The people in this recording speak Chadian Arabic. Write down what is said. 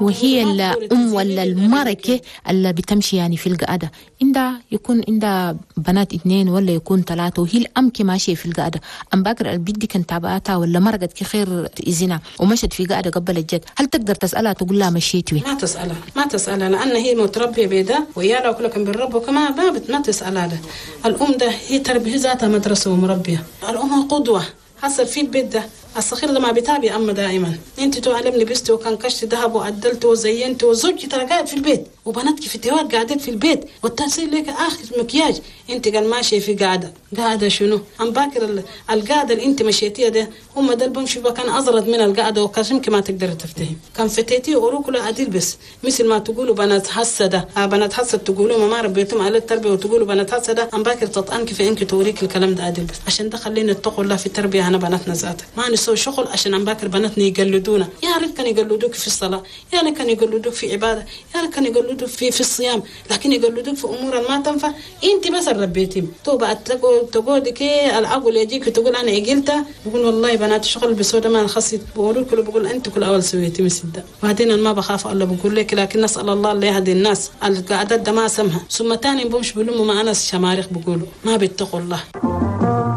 وهي الأم ولا المركة اللي بتمشي يعني في القعدة، عندها يكون عندها بنات 2 ولا يكون 3، وهي الأم كي ماشية في القعدة. أم باكر البيت دي كان تابعتها ولا مرقت كخير إذنها ومشت في قعدة قبل الجد، هل تقدر تسألها تقول لها مشيتي؟ ما تسألها، ما تسألها، لأن هي متربية بيدا ويالا وكلكم بالرب وكما ما تسألها. ده الأم ده هي تربية ذاتها مدرسة ومربية، الأم قدوة. حصل في البيت ده الصغير ده ما بيتابع أما دائما، أنت تعلم لبست وكان كشت ذهب وعدلت وزينت، وزوجي ترى قاعد في البيت وبناتك في التوات قاعدين في البيت، والتأثير لك آخر مكياج، أنت قال ماشية في قاعدة، قاعدة شنو؟ أم باكر القاعدة اللي أنت مشيتيها ده هم ده بمشي كان أزرد من القاعدة وكشمك ما تقدر تفتهم، كان فتيتي وروك لا عدل بس مثل ما تقولوا بنات حسدة، بنات حسد تقولوا ما ربيتهم على التربية وتقولوا بنات حسدة، أم باكر تطعنك في إنك توريك الكلام ده عدل بس. عشان ده خلينا نتقوا الله في التربية أنا بناتنا ذاتها، ما نسوي شغل عشان أم باكر بناتنا يقلدونا، يا ريت كان يقلدوك في الصلاة، يا ريت كان يقلدوك في عبادة، يا ريت كان يقلدوك في الصيام، لكن يقلدوك في أمور ما تنفع. أنت بس ربيتهم توبة تقول كي العقل يجيك تقول أنا عقلتها، بقول والله بنات شغل بسودة ما خصيت، بقول كله بقول أنت كل أول سويتي مسدة. وبعدين أنا ما بخاف الله بقول لك، لكن نسأل الله اللي يهدي الناس القعدات ده ما سمها. ثم تاني بمش بلوموا مع ناس شماريخ بقولوا ما بيتقوا الله.